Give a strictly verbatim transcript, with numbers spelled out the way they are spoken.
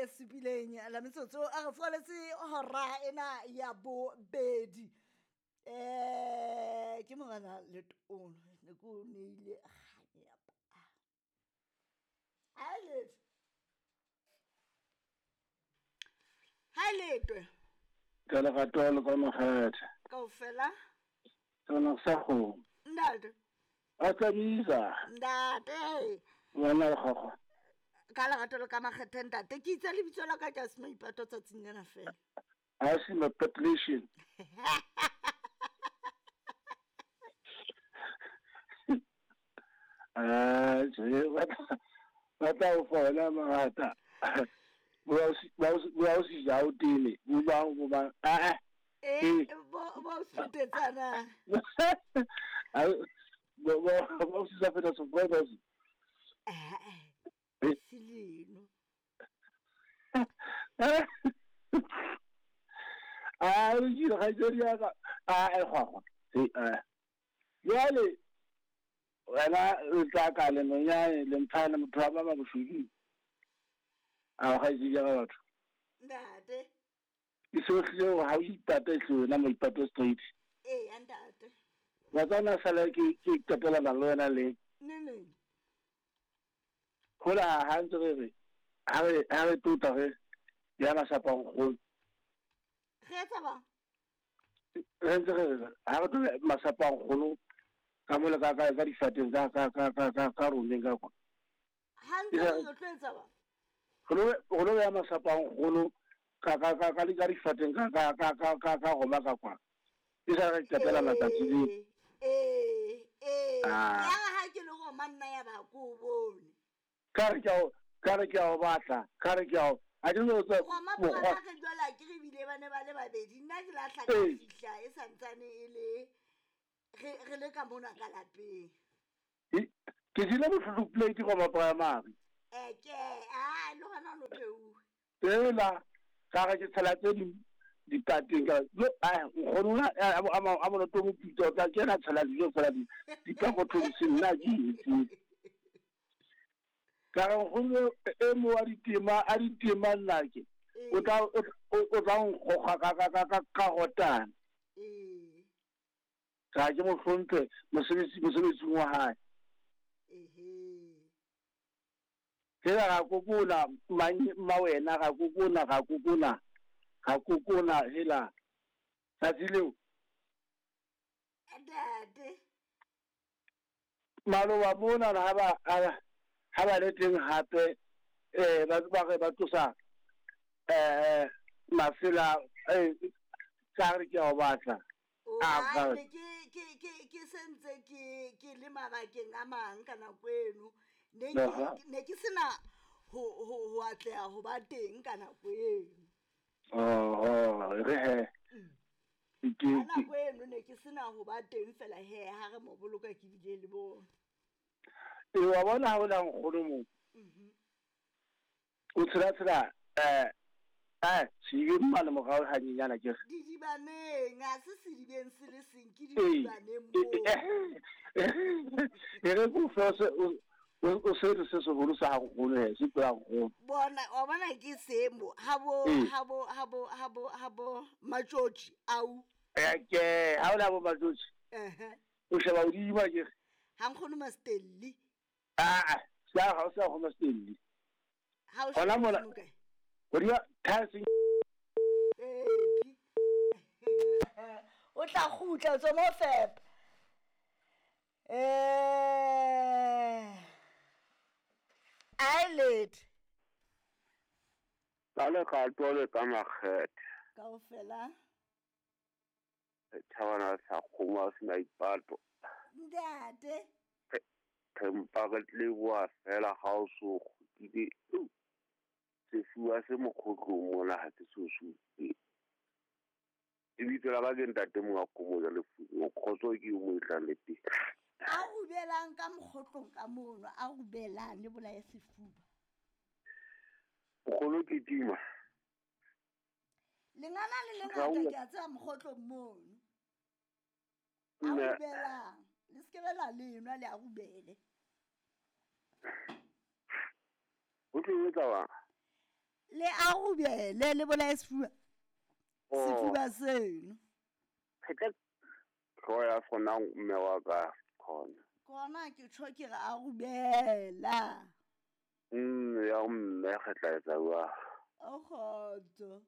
le supileng la metsotso a re foletse hora ena ya bobedi. Eh ke morena Letono ne ke o neile kganyapa. Ha letho. Ha letwe. Ka lerato le ka makgethe. Kaofela. Tsona sa go. Ntate. A tsabisa. Ntate. Wena le gogo. Ka lerato le ka makgethe ntate ke itse lebitso la ka ke se maipato tsatsing lena fela. A se mapatlishin. Ah, je ba tla o fona mangata. Bo bo si ja o tele, bo ba bo ba ah eh bo bo sutetsana. Ah bo bo bo si sa feta so bo bo. Eh. Silino. Ah, o jira ga jeri ka ah e gwa. Eh. Jwale wena o tla ka le nonyane le mphana motho wa mama boshudi. A ga itse ja batho. Ntate. Ke sohle ha o ipata hle wena maipato straight. Eh, ntate. Wa tsana sala ke ke qetela le wena le. Ne ne. Hola ha ntse re re ha re ha re tota re ya masapa go. Re etsa ba? Re ntse re re ha re tota masapa go ka mola ka ka ka difateng ka ka ka ka ka ka romeng ka kwa. Ha ntse re tlo etsa ba? Go go ya masapa go ka ka ka ka ka difateng ka ka ka ka ka ka goma ka kwa. E sa re qetela matsatsi le. Eh eh ya ha ke le go manna ya ba ko bone. Ka re ke o ka re ke o batla ka re ke o a di no tsa go ma ba ke jwala ke re bile ba ne ba le babedi nna ke la tlhaka fihla e santsane e le re re le ka mona ka lapeng ke dile bohloko plate go ma primary eh ke a lo gana no peu ela ka re ke tshela tse di ditateng ka lo a ngona a a mo to mo pito ka ke na tshela dijo fela di di ka go thobise nna ke itse ka re go e mo wa ditema a ditema nna ke o tla o tla nkgoga ka ka ka ka ka gotana eh ka ke mo hlomphe mosebetsi mosebetsi wa hae ehe ke ga kokona ma wena ga kokona ga kokona ga kokona hela tsatsi leo ntate maloba mona ha ba ha ba le teng hape eh ba ba re ba tlosa eh masela eh ka re ke o batla a ne ke ke ke ke sentse ke ke le mabakeng a mang ka nako eno ne ke ne ke sena ho ho ho atleha ho ba teng ka nako eno. Oh re he ke nako eno ne ke sena ho ba teng fela he ha re mo boloka ke bile le bona. E wa bona ha o la nkgono mo. Mhm. O tsela tsela eh eh se mma le morao ha nyenyana ke re. Didibaneng a se sedibeng se le seng ke didibaneng mo. E re go fose o se re se seholo sa nkgono he se pela nkgono. Bona wa bona ke semo ha bo ha bo ha bo ha bo ha bo matjotji au. Eh ke ha o la bo matjotji. Eh. O sheba o di ba ke. Ha nkgono Mastelli. Ah, sa ha o sa go Mastelli. Ha o sheba mola. Go dia thansing. Eh. O tla khutla tswa mo fep. Eh. Eyelid. Ka le ka tole ka makgethe. Kaofela. Thabana sa kgoma se maipato. Ntate. Re mpa re leboha fela ha o so kgutlile. Sefuwa se mokgotlong mona ha ke so supe. Lebitso la ka ke ntate monga Kgomo Lefumo. Kgotso ke o mo tlang le teng. A rubelang ka mokgotlong ka mono, a rubelang le bolaya sefuba. Mokgolo ke tima. Lengana le lengata ke a tseba mokgotlong mono. A rubelang. Le se ke be la lenwa le a rubele. O tlo etsa wa? Le a rubele le bolaye sefuba. Oh. Sefuba seno. Hlooho ya sona mme wa ka khona. Kona ke tjho ke re a rubela. Mm ya mme re tla etsa jwang? O kgotso.